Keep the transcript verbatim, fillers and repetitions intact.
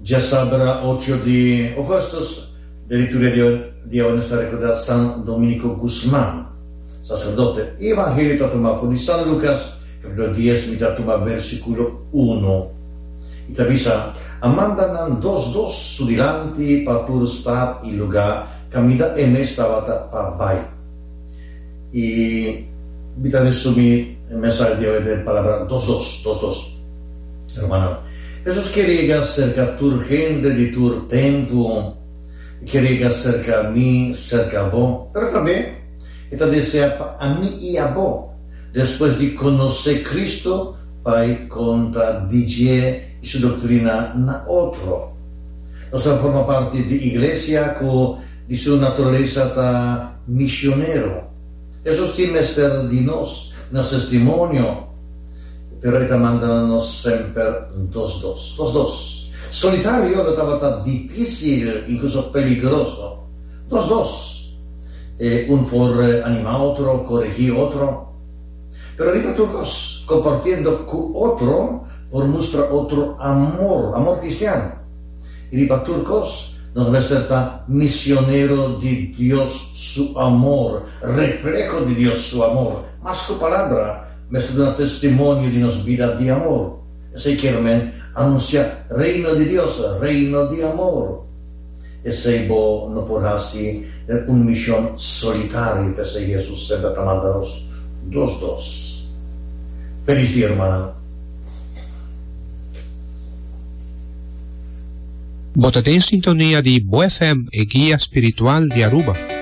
Djasabra ocho di ougùstùs, den liturgia di awe nos ta rekordá San Dominico Guzman, saserdote. E evangelio ta tumá for di San Lukas, kapítulo dies, mi ta tuma versíkulo unu. I ta bisa, A manda nan dos dos su dilanti pa tur stat i lugá kaminda e mes tabata pa bai. I mi ta resumí e mensahe di awe den palabra dos dos, dos dos. Rumannan, Hesus kier yega serka tur hende di tur tempu. E kier yega serka mi, serka bo. Pero tambe e ta desea pa ami i abo, despues di konosé Kristu, bai konta di dje i su doktrina na otro. Nos ta forma parti di iglesia ku di su naturalesa ta misionero. Hesus tin mester di nos, nos testimonio. Pero e ta manda nos semper dos dos. Dos dos. Solitario lo tabata difísil, inkluso peligroso. Dos dos. E un por animá otro, koregí otro. Pero riba tur kos, kompartiendo ku otro por mustra otro amor, amor kristian. I riba tur kos, nos mester ta misionero di Dios su amor, refleho di Dios su amor. Mas ku palabra, mester duna testimonio di nos bida di amor. Esei kier men anunsiá Reino di Dios, Reino di amor. Esei bo no por hasi den un mishon solitario, p'esei Hesus semper ta manda nos dos dos. Felis dia, rumannan. Bo ta den sintonia di Bo F M, e guia spiritual di Aruba.